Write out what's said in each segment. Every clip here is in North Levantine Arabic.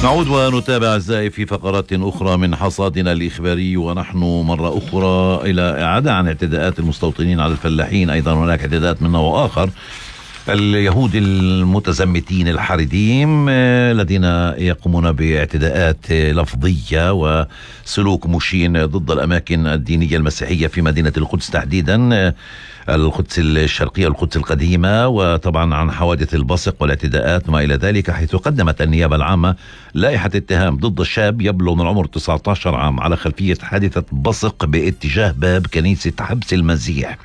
نعود ونتابع أعزائي في فقرات أخرى من حصادنا الإخباري، ونحن مرة أخرى إلى إعادة عن اعتداءات المستوطنين على الفلاحين. أيضا هناك اعتداءات من نوع آخر، اليهود المتزمتين الحريديم الذين يقومون باعتداءات لفظية وسلوك مشين ضد الأماكن الدينية المسيحية في مدينة القدس، تحديدا القدس الشرقية والقدس القديمة، وطبعا عن حوادث البصق والاعتداءات ما إلى ذلك، حيث قدمت النيابة العامة لائحة اتهام ضد شاب يبلغ من العمر 19 عام على خلفية حادثة بصق باتجاه باب كنيسة حبس المسيح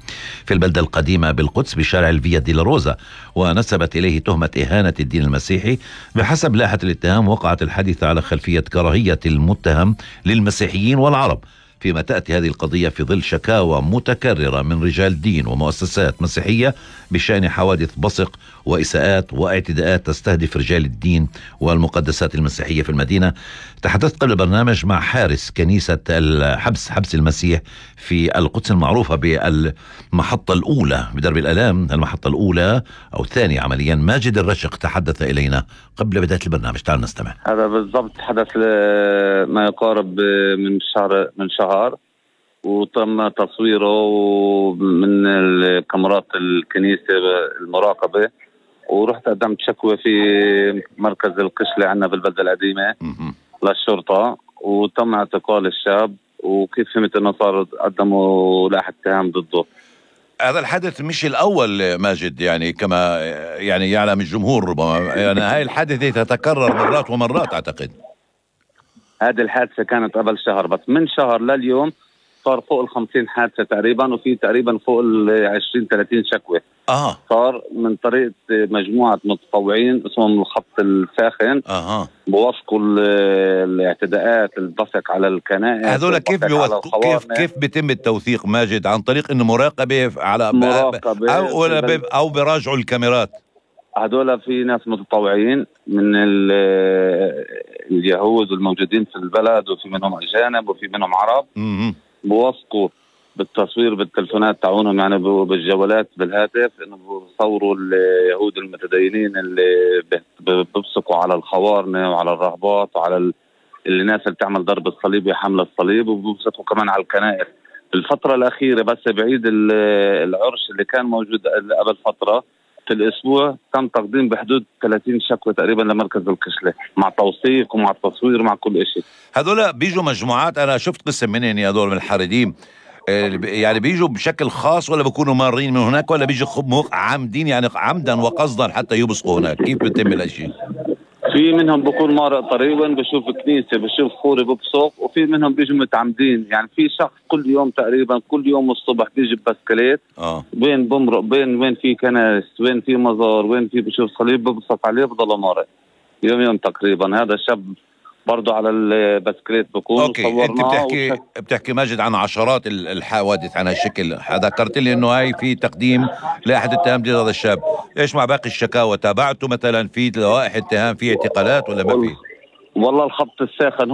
في البلدة القديمة بالقدس بشارع الفيا دي لاروزا، ونسبت إليه تهمة إهانة الدين المسيحي. بحسب لائحة الاتهام وقعت الحادثة على خلفية كراهية المتهم للمسيحيين والعرب، فيما تأتي هذه القضية في ظل شكاوى متكررة من رجال دين ومؤسسات مسيحية بشأن حوادث بصق وإساءات واعتداءات تستهدف رجال الدين والمقدسات المسيحية في المدينة. تحدثت قبل البرنامج مع حارس كنيسة حبس المسيح في القدس المعروفة بالمحطة الأولى بدرب الآلام، المحطة الأولى أو الثانية عمليا. ماجد الرشق تحدث إلينا قبل بداية البرنامج، تعال نستمع. هذا بالضبط حدث ما يقارب من شهر، وتم تصويره من الكاميرات الكنيسة المراقبة، ورحت قدمت شكوى في مركز القشلة عنا بالبلدة القديمة للشرطة، وتم اعتقال الشاب. وكيف فهمت انه صار قدموا لائحة اتهام ضده. هذا الحدث مش الأول ماجد، يعني كما يعني يعلم الجمهور ربما، يعني هاي الحادثة تتكرر مرات ومرات أعتقد. هذه الحادثة كانت قبل شهر، بس من شهر لليوم صار فوق 50 حادثة تقريبا، وفي تقريبا فوق 20-30 شكوى. صار من طريقة مجموعة متطوعين اسمهم الخط الساخن. بوثقوا الاعتداءات البصق على الكنائس. هذول كيف بيتم التوثيق ماجد؟ عن طريق انه مراقبة على او براجعوا الكاميرات؟ هذول في ناس متطوعين من اليهود الموجودين في البلد، وفي منهم أجانب وفي منهم عرب. بوثقوا بالتصوير بالتلفونات تاعونهم، يعني بالجوالات بالهاتف، انه بصوروا اليهود المتدينين اللي بيبصقوا على الخوارنة وعلى الرهبات وعلى الناس اللي بتعمل ضرب الصليب وحمل الصليب، وبيبصقوا كمان على الكنائس. الفترة الأخيرة بس بعيد العرش اللي كان موجود قبل فترة، في الأسبوع تم تقديم بحدود 30 شكوى تقريبا لمركز القشلة، مع توثيق ومع تصوير ومع كل شيء. هذول بيجوا مجموعات، أنا شفت قسم منهم يا هذول من الحريديم، يعني بيجوا بشكل خاص ولا بيكونوا مارين من هناك، ولا بيجوا عامدين يعني عمدا وقصدا حتى يبصقوا هناك؟ كيف بيتم الاشياء؟ في منهم بيكون مارق طريقا بشوف كنيسة بشوف خوري ببصق، وفي منهم بيجوا متعمدين. يعني في شخص كل يوم تقريبا كل يوم الصبح بيجي ببسكليت وين بمرق وين في كنائس، وين في مزار، وين في بشوف صليب ببصق عليه بضل مارق يوم تقريبا. هذا شاب برضو على البسكليت بكون. اوكي، انت بتحكي ماجد عن عشرات الحوادث عن هالشكل. ذكرت لي انه هاي في تقديم لائحة اتهام ضد هذا الشاب. ايش مع باقي الشكاوى؟ تابعته مثلا في لوائح اتهام، في اعتقالات ولا ما في؟ والله الخط الساخن هم